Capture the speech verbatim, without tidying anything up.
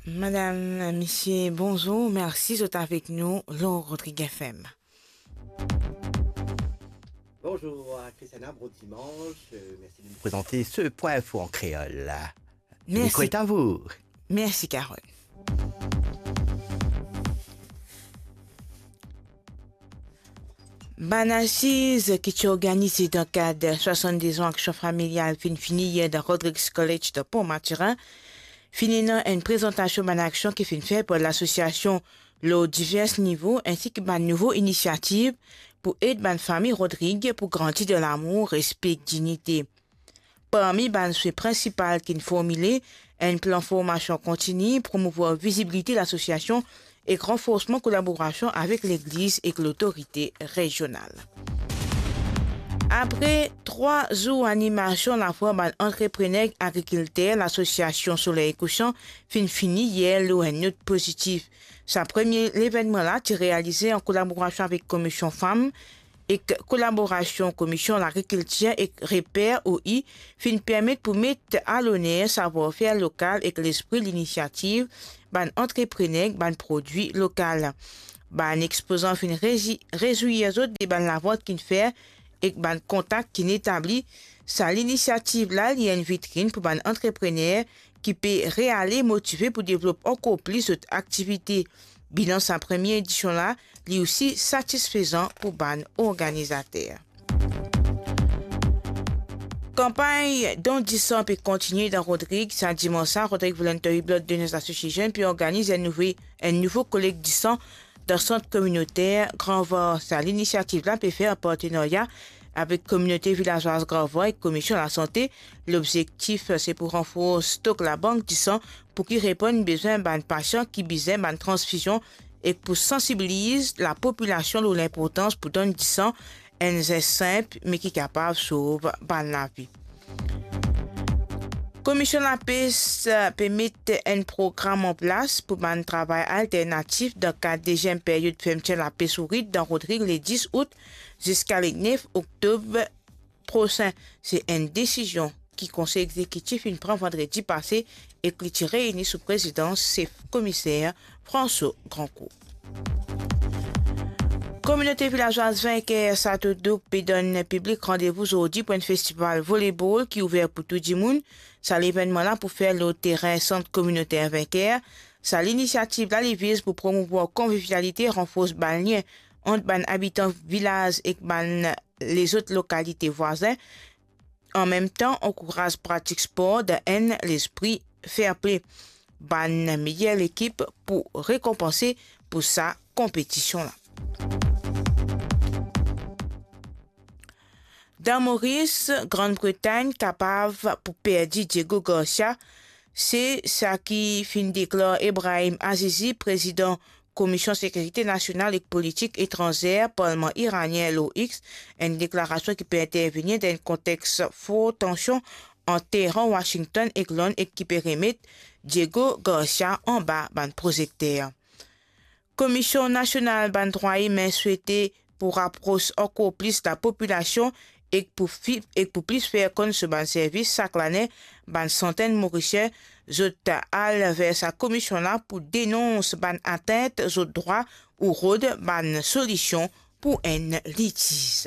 Madam, misie, bonzour. Mersi zot avek nou lor Rodrig F M. Bonjour, Christiana, bon dimanche. Euh, merci de nous présenter ce point info en créole. Le micro est à vous. Mersi, Carole. Bann asiz ki ti organize dan kad swasannde zan aksion familial finn fini yer dan Rodrigues College dan Pont Mathurin, finn ena enn prezantasion bann aksion ki finn fer par lasosiasion lor diver nivo, ensi ki bann nouvo inisiativ pou ed bann fami Rodrig pou grandi dan lamour, respe ek dignite. Parmi bann swe prinsipal ki'nn formile, enn plan formasion kontini, promouvwar vizibilite lasosiasion ek ranforsman kolaborasion avek legliz ek lotorite rezional. Apre trwa zour animasion lafwar bann antreprener ek agrikilter, lasosiasion Soley Kousan finn fini yer lor enn not pozitif. Sa premie levennman la ti realize an kolaborasion avek Komisyon Fam ek kolaborasion Komisyon Lagrikiltir ek Reper O I finn permet pou met a loner savwar-fer lokal ek lespri linisiativ bann antreprener ek bann prodwi lokal. Bann expozan finn rezi-, rezwir zot de bann lavant ki'nn fer ek bann kontak ki'nn etabli. Sa linisiativ la, li enn vitrinn pou bann antreprener ki pe reale motive pou devlop ankor plis zot aktivite. Bilan sa premie edision la, li osi satisfezan pou bann organizater. Kanpagn don disan pe kontinie dan Rodrig. Sa dimans la, Rodrig Voluntary Blood Donors Association pe organiz enn nouve, enn nouvo kolek disan dan sant kominoter Gran Var. Sa linisiativ la pe fer an partenarya avek kominote vilazwaz Gran Var ek Komisyon Lasante. Lobzektif, se pou ranfors stok labank disan pou ki reponn bizin bann pasian ki bizin bann transfizion ek pou sansibiliz lapopilasion lor linportans pou donn disan, enn zes sinp, me ki kapav sov bann lavi. Komisyon Lapes, eh, pe met enn program an plas pou bann travay alternatif dan kad deziem peryod fermtir lapes ourit dan Rodrig le dis out ziska le nef oktob prosin. Se enn desizion ki Konsey Egzekitif inn pran vandredi pase ek li ti reyini sou prezidans sef komiser François Grancourt. Kominote vilazwaz Vinker Sato Douk pe donn piblik randevou zordi pou enn festival volebol ki ouver pou tou dimoun. Sa levennman la pou fer lor terin sant kominoter Vinker. Sa linisiativ la, li viz pou promouvwar konvivialite, ranfors bann lien ant bann abitan vilaz ek bann lezot lokalite vwazin. An mem tan, ankouraz pratik spor dan enn lespri fair play. Bann meyer lekip pou rekonpanse pou sa konpetision la. Dan Moris, Grann Bretagn kapav pou perdi Diego Garcia, se sa ki finn deklar Ebrahim Azizi, prezidan Komisyon Sekirite Nasional ek Politik Etranzer Parlman Iranien lor X, enn deklarasion ki pe intervenir dan enn kontex for tansion ant Teheran, Washington ek Lond ek ki pe remet Diego Garcia anba bann prozekter. Komisyon Nasional bann Drwa Imin swete pou rapros ankor plis lapopilasion ek pou fi-, ek pou plis fer konn so bann servis. Sak lane, bann santenn Morisien zot al ver sa komisyon la pou denons bann atint zot drwa ou rod bann solision pou enn litiz.